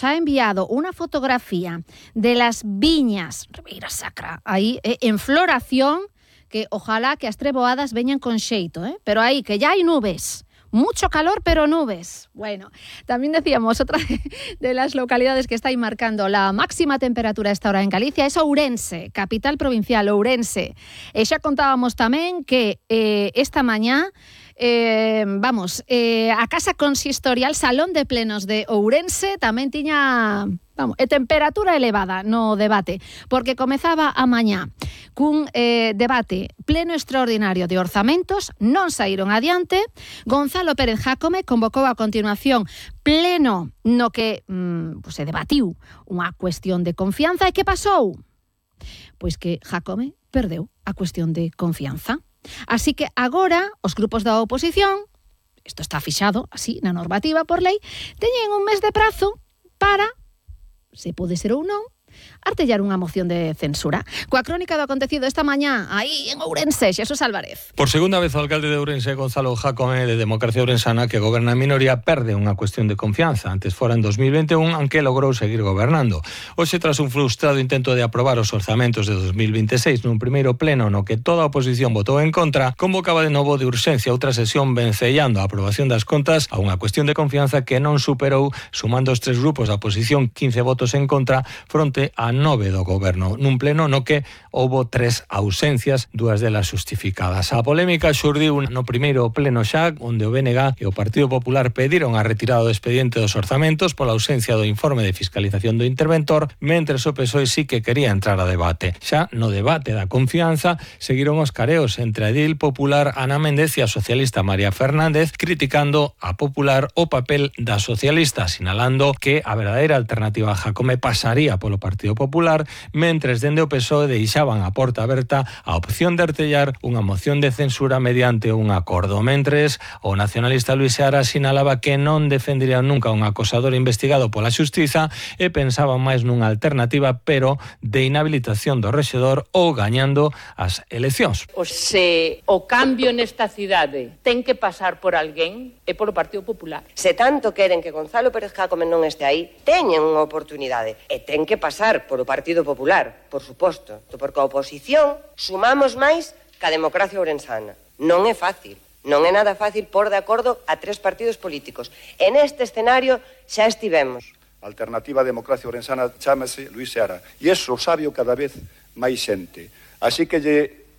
ha enviado una fotografía de las viñas Ribeira Sacra, ahí en floración, que ojalá que as treboadas veñan con xeito, pero ahí que ya hay nubes. Mucho calor, pero nubes. Bueno, también decíamos, otra de las localidades que está ahí marcando la máxima temperatura a esta hora en Galicia es Ourense, capital provincial, Ourense. E xa contábamos tamén que esta mañá a Casa Consistorial, Salón de Plenos de Ourense, tamén tiña temperatura elevada no debate, porque comezaba a mañá cun debate pleno extraordinario de orzamentos, non saíron adiante. Gonzalo Pérez Jácome convocou a continuación pleno no que se debatiu unha cuestión de confianza. E que pasou? Pois que Jácome perdeu a cuestión de confianza. Así que agora os grupos da oposición, isto está fixado así na normativa por lei, teñen un mes de prazo para, se pode ser ou non, artellar unha moción de censura. Coa crónica do acontecido esta mañá aí en Ourense, Xesús Álvarez. Por segunda vez o alcalde de Ourense, Gonzalo Jácome, de Democracia Ourensana, que goberna en minoría, perde unha cuestión de confianza. Antes fora en 2021, aunque logrou seguir gobernando. Hoxe, tras un frustrado intento de aprobar os orzamentos de 2026 nun primeiro pleno no que toda a oposición votou en contra, convocaba de novo de urxencia outra sesión vencellando a aprobación das contas a unha cuestión de confianza que non superou, sumando os tres grupos da oposición, 15 votos en contra, fronte a 9 do goberno, nun pleno no que houbo 3 ausencias, 2 delas justificadas. A polémica xurdiu no primeiro pleno xa, onde o BNG e o Partido Popular pediron a retirada do expediente dos orzamentos pola ausencia do informe de fiscalización do interventor, mentres o PSOE sí que quería entrar a debate. Xa no debate da confianza seguiron os careos entre a edil popular Ana Méndez e a socialista María Fernández, criticando a Popular o papel da socialista, sinalando que a verdadeira alternativa a Jácome pasaría polo Partido Popular, mentres dende o PSOE deixaban a porta aberta a opción de artellar unha moción de censura mediante un acordo. Mentres o nacionalista Luís Seara sinalaba que non defendería nunca un acosador investigado pola xustiza e pensaba máis nunha alternativa, pero de inhabilitación do rexedor ou gañando as eleccións. Se o cambio nesta cidade ten que pasar por alguén, é polo Partido Popular. Se tanto queren que Gonzalo Pérez Jácome non este aí, teñen unha oportunidade e ten que pasar polo Partido Popular, por suposto, porque a oposición sumamos máis que a democracia ourensana. Non é fácil, non é nada fácil pôr de acordo a 3 partidos políticos. En este escenario xa estivemos. A alternativa a democracia ourensana chámase Luís Seara, e iso sabio cada vez máis xente. Así que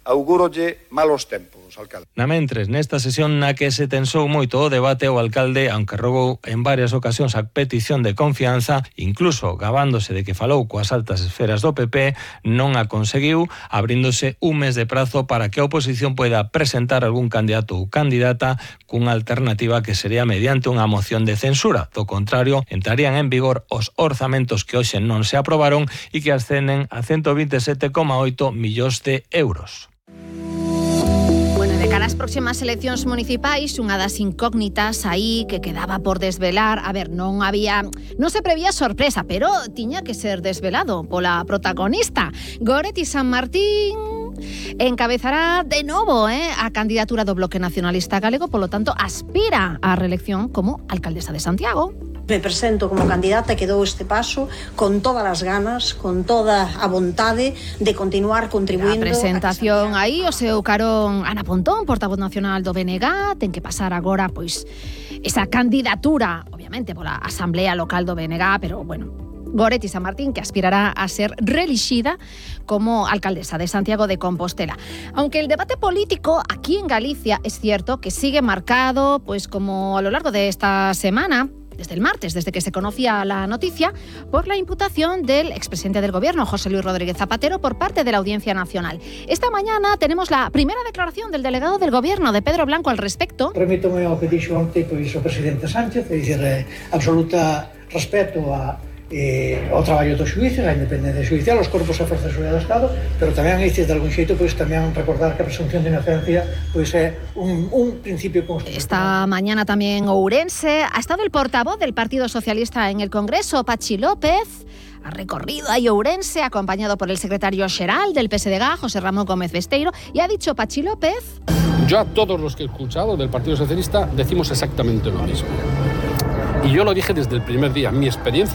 augúrolle malos tempos, alcalde. Mentres, nesta sesión na que se tensou moito o debate, o alcalde, aunque rogou en varias ocasións a petición de confianza, incluso gabándose de que falou coas altas esferas do PP, non a conseguiu, abríndose un mes de prazo para que a oposición poida presentar algún candidato ou candidata cunha alternativa que sería mediante unha moción de censura. Do contrario, entrarían en vigor os orzamentos que hoxe non se aprobaron e que ascenden a 127,8 millóns de euros. De cara ás próximas eleccións municipais, unha das incógnitas aí que quedaba por desvelar, non se prevía sorpresa, pero tiña que ser desvelado pola protagonista. Goretti San Martín encabezará de novo a candidatura do Bloque Nacionalista Galego, polo tanto, aspira á reelección como alcaldesa de Santiago. Me presento como candidata que dou este paso con todas as ganas, con toda a vontade de continuar contribuindo. A presentación aí, o seu carón Ana Pontón, portavoz nacional do BNG, ten que pasar agora, pois, esa candidatura, obviamente, pola Asamblea Local do BNG, pero, bueno, Goretti San Martín, que aspirará a ser reelixida como alcaldesa de Santiago de Compostela. Aunque el debate político aquí en Galicia es cierto que sigue marcado, pues como a lo largo de esta semana, desde el martes, desde que se conocía la noticia, por la imputación del expresidente del Gobierno, José Luis Rodríguez Zapatero, por parte de la Audiencia Nacional. Esta mañana tenemos la primera declaración del delegado del Gobierno, de Pedro Blanco, al respecto. Remítome ao que dixo onte o presidente Sánchez, é dicir, absoluta respeto ao traballo dos xuíces, a independencia xudicial, os corpos e forzas de seguridade do Estado, pero tamén, de algún xeito, tamén recordar que a presunción de inocencia é un principio constitucional. Esta mañana tamén Ourense ha estado el portavoz del Partido Socialista en el Congreso, Pachi López. Ha recorrido a Ourense acompañado por el secretario xeral del PSDG, José Ramón Gómez Besteiro, y ha dicho Pachi López: yo a todos los que he escuchado del Partido Socialista decimos exactamente lo mismo. Y yo lo dije desde el primer día. Mi experiencia